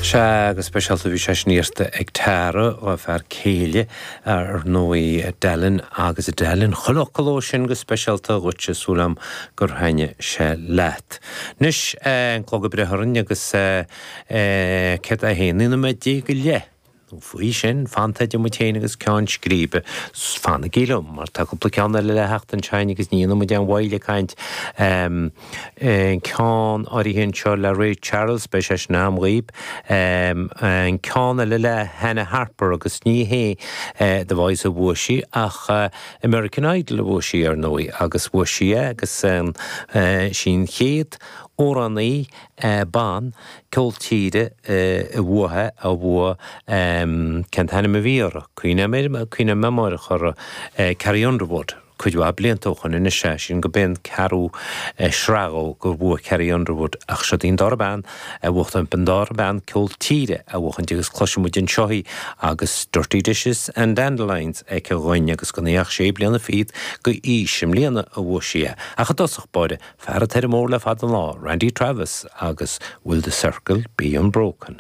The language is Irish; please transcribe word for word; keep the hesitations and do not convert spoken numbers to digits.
Sea, go speisialta bhí sé sin iarrta ag Tara ó fear céile ar ndóigh Dallin agus Dallin chuile fhocal ó sin go speisialta dhuitse súil agam gur thaitnigh sé leat. Anois an clog ag breith orainn agus céard é haon nóiméad déag go leith. Nó faoi sin, fanta idir muid féin agus ceann scríbe, fanaigí liom, mar tá cúpla ceann eile le theacht ansin agus ní dhéanfaidh muid aon mhoill ag caint. An ceann áirithe anseo le Ray Charles, beidh sé sin agam dhaoib. An ceann eile le Hannah Harper agus ní hé The Voice a bhuaigh sí ach American Idol a bhuaigh sí ar ndóigh agus bhuaigh sí é agus sí an chéad amhránaí ban ceol tíre a bhuaigh a bhuaigh cén t-ainm a bhí uirthi, cuimhním amárach uirthi, Carrie Underwood, cuid mhaith blianta ó shoin anois é sin go b'é an ceathrú sraith dhó gur bhuaigh Carrie Underwood ach siod í an dara bean a bhuachtaint an dara bean ceol tíre a bhuachaint agus cloisfidh muid anseo í agus Dirty Dishes and Dandelions aici dhúinn agus gan í ach sé bliana fichead go aois i mbliana a bhuaigh sí é ach i dtosach báire fear atá ar an mbóthar le fada an lá, Randy Travis agus Will the Circle Be Unbroken.